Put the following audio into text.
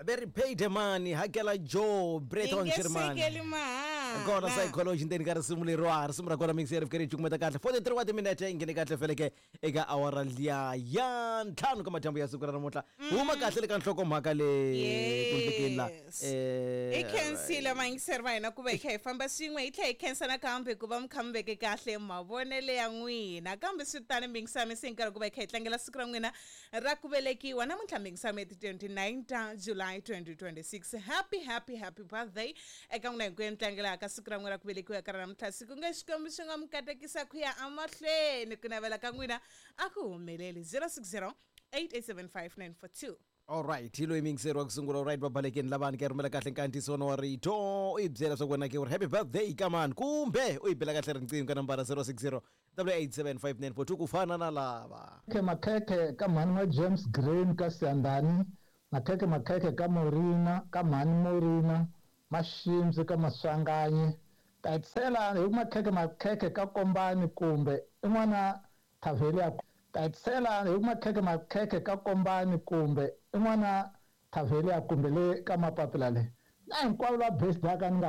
Very paid money hakela Joe Breton Yi nge Sherman. sekeli mahala. Kona psychology ndzeni ka risimu leriwa, risimu ra kona mix ya rifike ri cukumeta kahle 43 wa timinete, yi nghene kahle feleke eka awara liya ya 5 ka madyambu ya siku ra namuntlha. Huma kahle le ka nhlokomhaka le kundlekeni la. Yes. Hi khensile vayingiseri va hina ku va hi kha hi famba swin'we, hi tlhela hi khensa nakambe ku va mi kha mi veke kahle mavonelo ya n'wina. Kambe swi tani mingisami se nkarhi ku va hi kha hi tlangela siku ra n'wina ra ku velekiwa namuntlha, mingisami, ti 29 ta July 2026. Happy, happy, happy birthday eka n'wina hinkwenu tlangelaka siku ra n'wina ra ku velekiwa ka ra namuntlha. Siku nge Xikwembu xi nga mi katekisa ku ya emahlweni, ku navela ka n'wina a ku humeleli. 060 8875942. Alright, hi loyi miyingiseri wa ku sungula. Alright, vabalekeni lavani ka rhumela kahle nkandziyiso wa rito, u yi byela swa ku wena ke u ri happy birthday ka mani, kumbe u yi bela kahle riqingho ka nambara 060 8875942 ku fana na lava. Makhekhe makhekhe ka mhani wa James Green ka Siyandhani, makhekhe makhekhe ka Morina ka mhani Morina, Maximsi ka Maswanganyi, ta hetisela hi ku makhekhe makhekhe ka Kombani kumbe i n'wana Thavheli ya ta hetisela hi ku makhekhe makhekhe ka Kombani kumbe i n'wana Thavheli ya kumbe le ka mapapila le na hinkwavo lava birthday ka ni nga.